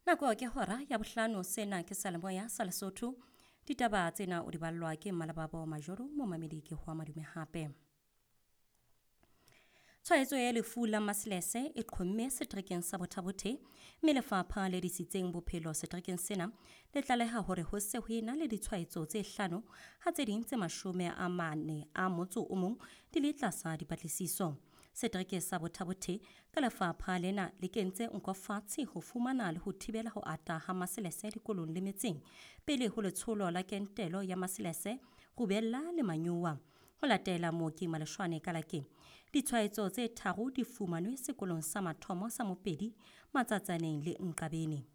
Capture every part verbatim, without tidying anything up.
Nako ke hora ya bohlano, sena ke Salemoya sa Lesotho. Ditaba tsena o di ballwa ke Mmalababo Majoro, momamedi ke hoa madume hape. Tshwaetso ya lefu la maselese e qhomme seterekeng sa Botha-Bothe, mme lefapha le disitseng bophelo seterekeng sena le tlaleha hore ho se ho ena le ditshwaetso tse hlano, ha tse ding tse mashome a mane a motso o mong di le tlasa dipatlisiso. Setereke sa Botha-Bothe ka lefapha lena le kentse nko fatshe ho fumana le ho thibela ho ata ha maselese dikolong le metseng pele ho letsholo la kentelo ya maselese, rubella le manyowa. Ho latela mooki Maleshwane Kalake, ditshwaetso tse tharo di fumanwe sekolong sa mathomo sa Mopedi, Matsatsaneng le Nqabeni.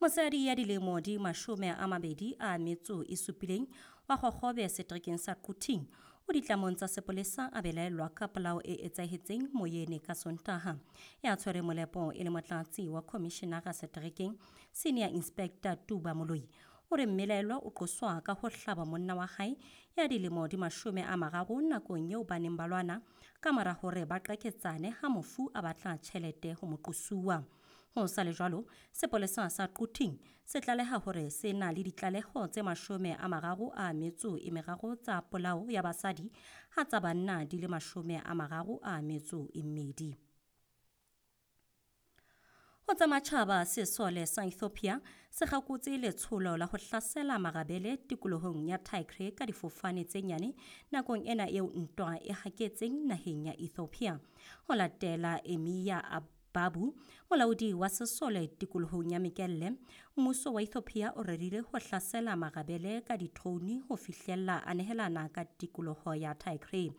Mosadi ya dilemo di mashome a mabedi a metso e supileng wa Kgokgobe seterekeng sa Quthing o ditlamong tsa sepolesa a belaellwa ka polao e etsahetseng Moyene ka Sontaha. Ya tshwere molepo e le motlatsi wa khomishenara seterekeng, Senior Inspector Tuba Moloi, o re mmelaellwa o qoswa ka ho hlaba monna wa hae ya dilemo di mashome a mararo nakong eo ba neng ba lwana ka mora hore ba qaketsane ha mofu a batla tjhelete ho moqosuwa. Ho sa le jwalo, sepolesa sa Quthing se tlaleha hore se na le ditlaleho tse mashome a mararo a metso e meraro tsa polao ya basadi, ha tsa banna di le mashome a mararo a metso e mmedi. Ho tsa matjhaba, sesole sa Ethiopia se kgakotse letsholo la ho hlasela marabele tikolohong ya Tigray ka difofane tse nyane nakong ena eo ntwa e haketseng naheng ya Ethiopia. Ho latela Emia Babu, molaodi wa sesole tikolohong ya Mekelle, mmuso wa Ethiopia o rerile ho hlasela marabele ka di-drone ho fihlella a nehelana ka tikoloho ya Tigray.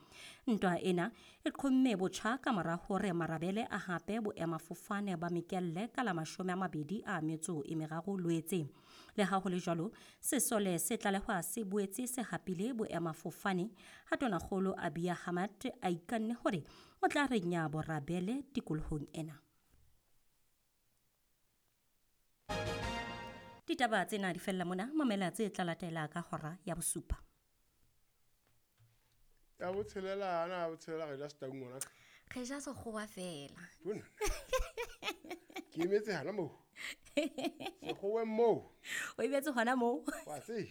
Ntwa ena e qhomme botjha ka mora hore marabele a hape boemafofane ba Mekelle ka la mashome a mabedi a metso e meraro Loetse. Le ha ho le jwalo, sesole se tlalehwa se boetse se hapile boemafofane ha Tonakgolo Abiy Ahmed a ikanne hore o tla renya borabele tikolohong ena. Ditaba tsena di fella mona, mamela tse tla latela ka hora ya bosupa. Ya botshelela ana, ya botshelela re ja Setaung ngwana. Re ja sekgowa fela. Bona. Ke emetse hana moo. Sekgoweng moo. O emetse hona moo. Wa tseba.